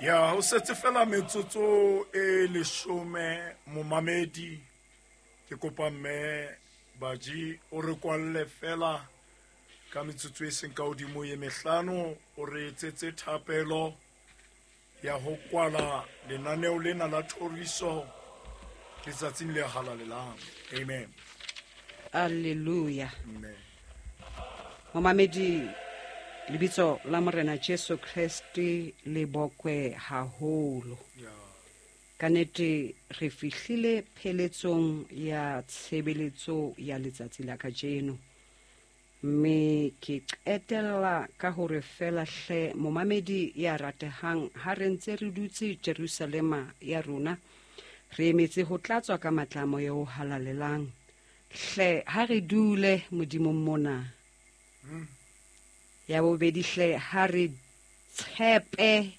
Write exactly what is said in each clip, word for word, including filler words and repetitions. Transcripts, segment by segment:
Ya ho setse fela metsotso e leshome momamedi ke kopa mme Baji o re kwalle fela ka metsotso e seng ka hodimo ye mehlano o re etsetse thapelo ya ho kwala lenaneo lena la thoriso letsatsing le halalelang. Amen. Alleluia. Amen. Momamedi, lebitso la Morena Jesu Kreste le bokwe haholo. Yeah. Ka nnete re fihlile pheletsong ya tshebeletso ya letsatsi la kajeno. Mme ke qetella ka hore fela hle momamedi ya ratehang ha re ntse re dutse Jerusalema ya rona re emetse ho tlatswa ka matla a moya o halalelang. Hle ha re dule Modimong mona. Mm. Ya bobedi hle ha re tshepe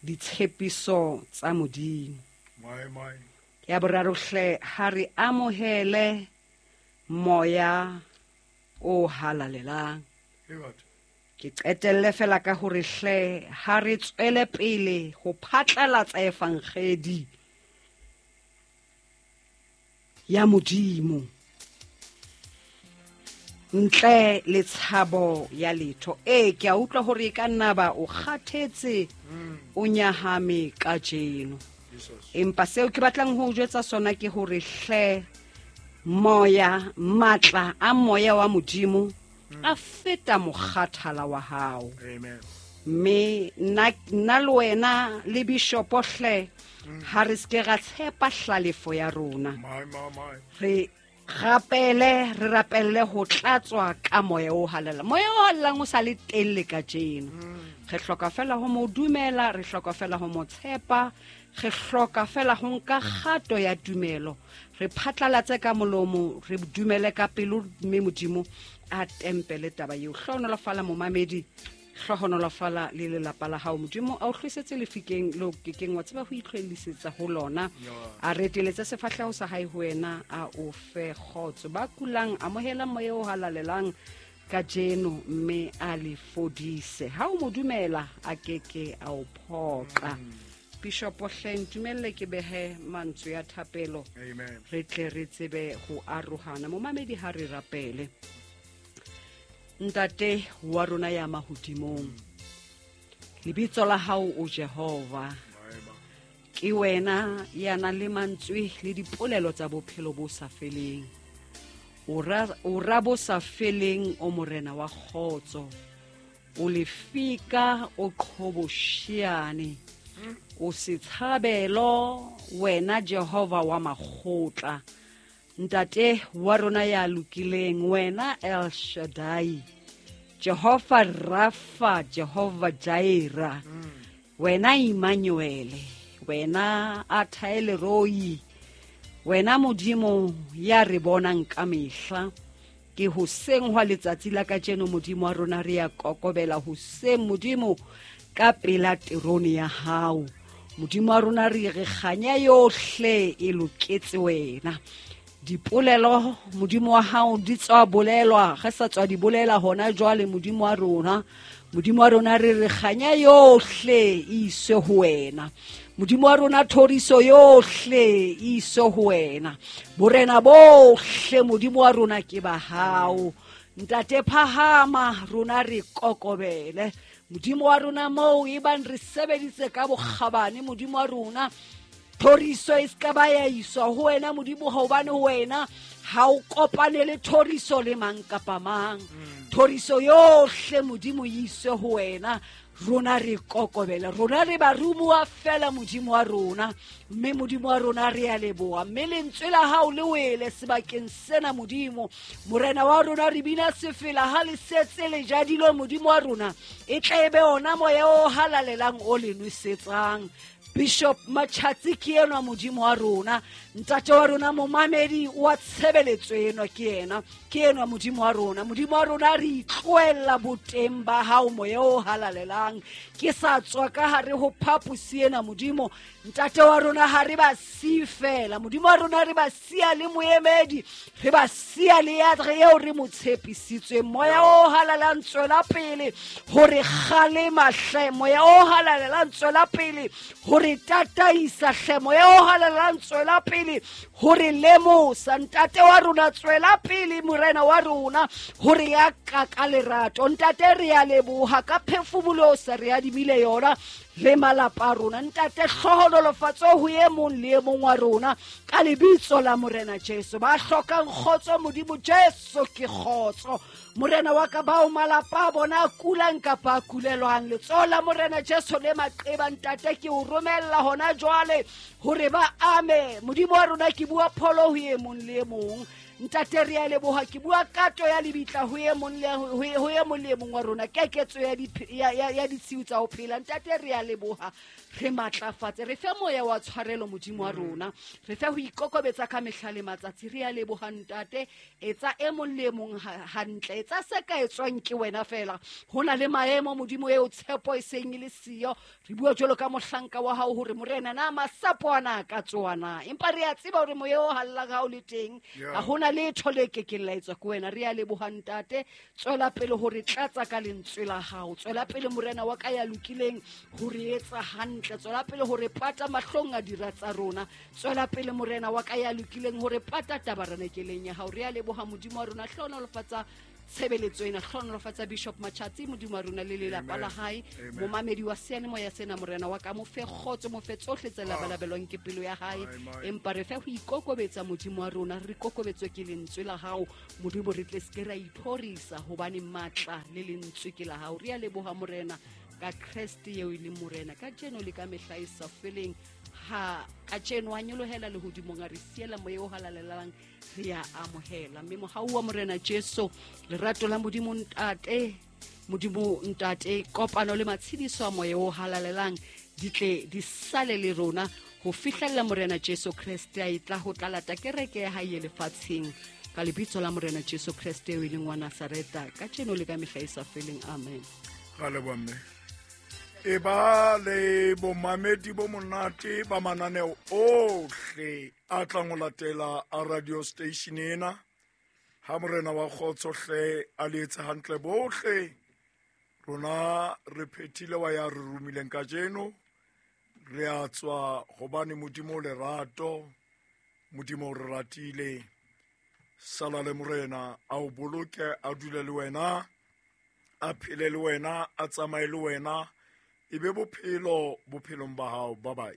ditshepiso tsa Modimo. My, my. Ya boraro hle ha re amohele moya o halalelang. Ke qetelle fela ka hore hle ha re tswele pele ho phatlalatsa evangedi ya Modimo ntle le tshabo ya letho. E ke a utlwa hore e ka nna ba o kgathetse, o nyahame kajeno. Empa seo ke batlang ho o jwetsa sona ke hore hle moya, matla a moya wa Modimo a feta mokgathala wa hao. Amen. Mme nna, nna le wena le bishopo hle ha re ske ra tshepa hlalefo ya rona. My, my, my. Re rapele, re rapelle ho tlatswa ka moya o halalelang. Moya o halalelang o sa le teng le kajeno. Re hloka fela ho mo dumela, re hloka fela ho mo tshepa, re hloka fela ho nka kgato ya tumelo. Re phatlalatse ka molomo, re dumele ka pelo, mme Modimo a tempele taba eo. Hlohonolofala momamedi, hlohonolofala le lelapa la hao. Modimo a o hlwesetse lefikeng leo ke keng wa tseba ho itlhoellisetsa ho lona. A reteletse sefahleho sa hae ho wena, a o fe kgotso. Ba kulang, amohela moya o halalelang kajeno mme a le fodise. Ha o mo dumela, a keke a o phoqa. Bishop hle ntumelle ke behe mantswe ya thapelo. Amen. Re tle re tsebe ho arohana. Momamedi ha re rapele. Ntate wa rona ya mahodimong, lebitso la hao o Jehova. Ke wena ya nang le mantswe le dipolelo tsa bophelo bo sa feleng. O ra, o ra bo sa feleng, o morena wa kgotso. O lefika, o qhobosheane. O setshabelo, wena Jehova wa makgotla. Ntate wa rona ya lokileng, wena El Shaddai, Jehova Rafa, Jehova Jaira, wena Emmanuel, wena Athaeleroi, wena Modimo ya re bonang ka mehla. Ke hoseng hwa letsatsi la kajeno Modimo wa rona re ya kokobela hoseng Modimo ka pela terone ya hao. Modimo wa rona re re kganya yohle e loketse wena. Dipolelo Modimo wa hao di tswa bolelwa, re sa tswa di bolela hona jwale Modimo wa rona. Modimo wa rona re re kganya yohle e iswe ho wena. Modimo wa rona thoriso yohle e iswe ho wena. Borena bohle Modimo wa rona ke ba hao. Ntate phahama, rona re kokobele. Modimo wa rona moo e bang re sebeditse ka bokgabane Modimo wa rona, thoriso e ska ba ya iswa ho wena Modimo, hobane ho wena ha o kopane le thoriso le mang kapa mang. Thoriso yohle Modimo e iswe ho wena. Rona re kokobela, rona re barumuwa fela Modimo wa rona, mme Modimo wa rona re a leboha. Mme lentswe la hao le wele sebakeng sena Modimo. Morena wa rona re bina sefela ha le setse le jadilwe Modimo wa rona, e tle e be ona moya o halalelang o le nwesetsang. Bishop Machatsi ke enwa Modimo wa rona, ntate wa rona momamedi wa tshebeletso enwa ke yena, ke enwa Modimo wa rona. Modimo wa rona re itlohella boteng ba hao moya o halalelang. Ke sa tswa ka hare ho phaposi ena Modimo ntate wa rona, ha re ba siye fela Modimo wa rona, re ba siya le moemedi, re ba siya le ya re eo re mo tshepisitsweng. Moya o halalelang tswela pele hore kgalema hle, moya o halalelang tswela pele hore tataisa hle, moya o halalelang tswela pele hore lemosa. Ntate wa rona tswela pele morena wa rona hore ya ka ka lerato. Ntate re ya leboha ka phefumolo sa re adimile yona le malapa a rona. Ntate hlohonolofatso ho e mong le e mong wa rona ka lebitso la Morena Jesu. Ba hlokang kgotso Modimo Jesu ke kgotso Morena wa ka, bao malapa a bona a kulang kapa a kulelwang, letsoho la Morena Jesu le maqeba ntate ke o romella hona jwale hore ba ame. Modimo wa rona ke bua pholo ho e mong le e mong. Ntate re a leboha, ke bua kato ya lebitla ho e mong le ho e mong le mong wa rona, keketso ya ya ya ditshiu tsa ho phela. Ntate re a leboha, re matlafatse, re fe moya wa tshwarelo Modimo wa rona, re fe ho ikokobetsa ka mehla le matsatsi. Re a leboha ntate, etsa e mong le mong hantle, etsa se ka etswang ke wena fela. Ho na le maemo Modimo eo tshepo e seng e le siyo. Re bua jwalo ka mohlanka wa hao hore Morena na masapo ana ka tswana, empa re a tseba hore moya o hallang ha o le teng, ha hona letho le kekeng la etswa ke wena. Re a leboha ntate, tswela pele hore tlatsa ka lentswe la hao, tswela pele Morena wa ka ya lokileng hore etsa hantle, tswela pele hore pata mahlong a dira tsa rona, tswela pele Morena wa ka ya lokileng hore pata tabarenekeleng ya hao. Re a leboha Modimo wa rona, hlohonolofatsa tshebeletso ena, hlohonolofatsa Bishop Machatsi Modimo wa rona le lelapa la hae, momamedi wa seyalemoya sena Morena wa ka, mo fe kgotso, mo fe tsohle tse labalabelwang ke pelo ya hae, empa re fe ho ikokobetsa Modimo wa rona, re kokobetswe ke lentswe la hao Modimo, re tle se ke ra ithorisa hobane matla le lentswe ke la hao. Re a leboha Morena ka Kreste eo e leng Morena kajeno le ka mehla e sa feleng. Ha kajeno a nyolohela lehodimong, a re siela moya o halalelang, re a amohela. Mme mohau wa Morena Jesu, lerato la Modimo Ntate, Modimo Ntate, kopano le matshediso a moya o halalelang di tle di sale le rona ho fihlella Morena Jesu Kreste a e tla ho tla lata kereke ya hae lefatsheng, ka lebitso la Morena Jesu Kreste eo e leng wa Nazareta, kajeno le ka mehla e sa feleng. Amen. Ra leboha mme. E ba le bomamedi bo monate ba mananeo ohle a tlang ho latela a radio station ena. Ha Morena wa kgotso hle a le etse hantle bohle. Rona re phethile wa ya re romileng kajeno. Re a tswa hobane Modimo o lerato, Modimo o re ratile. Sala le Morena a o boloke, a dule le wena, a phele le wena, a tsamaye le wena, e be bophelo bophelong ba hao. Bye bye.